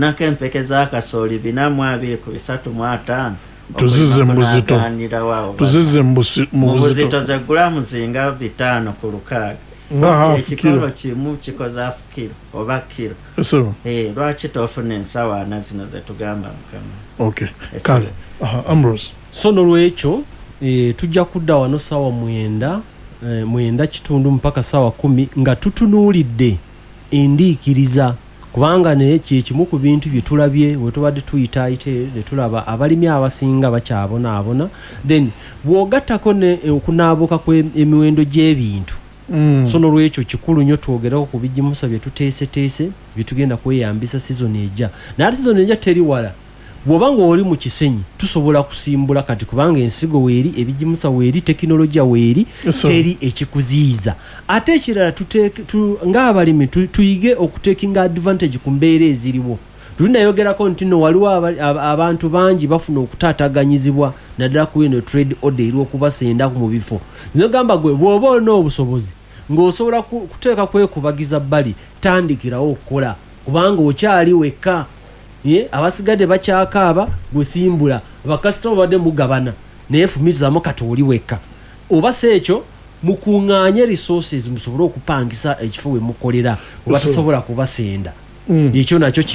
Nako empeke za kasooli 420 ku 350. Tuzizze mu buzito. Tuzizze mu mu buzito. Buzito ze gulamu zinga 5 ku 6. Nga half Ekikolo kilo. kimu kikoze half kilo oba kilo. Esebo. Eh, lwaki tofuna ensawo ana zino zetugamba, mukama? Okay. Kale. Aha, Ambrose. So nolwekyo tujja kudda wano sawa 9, 9:15 mpaka sawa 10 nga tutunuulidde endiikiriza, kubanga naye kyekimu ku bintu bye tulabye we tubadde tuyitaayita ne tulaba abalimi abasinga bakyabonaabona. Then bw'ogattako ne okunaabuka kw'emiwendo gy'ebintu. So nolwekyo kikulu nnyo twogereko ku bigimusa bye tuteeseteese bye tugenda kweyambisa sizoni ejja. Naye ate sizoni ejja teri wala. Bw'oba ng'oli mu Kisenyi, tusobola kusimbula kati, kubanga ensigo weeri, ebigimusa weeri, tekinologiya weeri. Teri ekikuziyiza. Ate ekirala, ng'abalimi tuyige okutekinga advantage ku mbeera eziriwo. Luli nayogerako nti no waliwo abantu bangi bafuna okutaataganyizibwa, naddala ku eno trade order eri okubasenda mu bifo. Zinogamba gwe bw'oba olina obusobozi ng'osobola kuteeka kwekubagiza bbali, tandikirawo okukola, kubanga okyali wekka. Ye, abasigadde bakyakaaba, gwe simbula. Bakasitoma badde mugabana, naye fumitizaamu kati oli wekka. Oba si ekyo, mukuŋŋaanye resources musobole okupangisa ekifo we mukolera, oba tasobola kubasenda. Ekyo nakyo.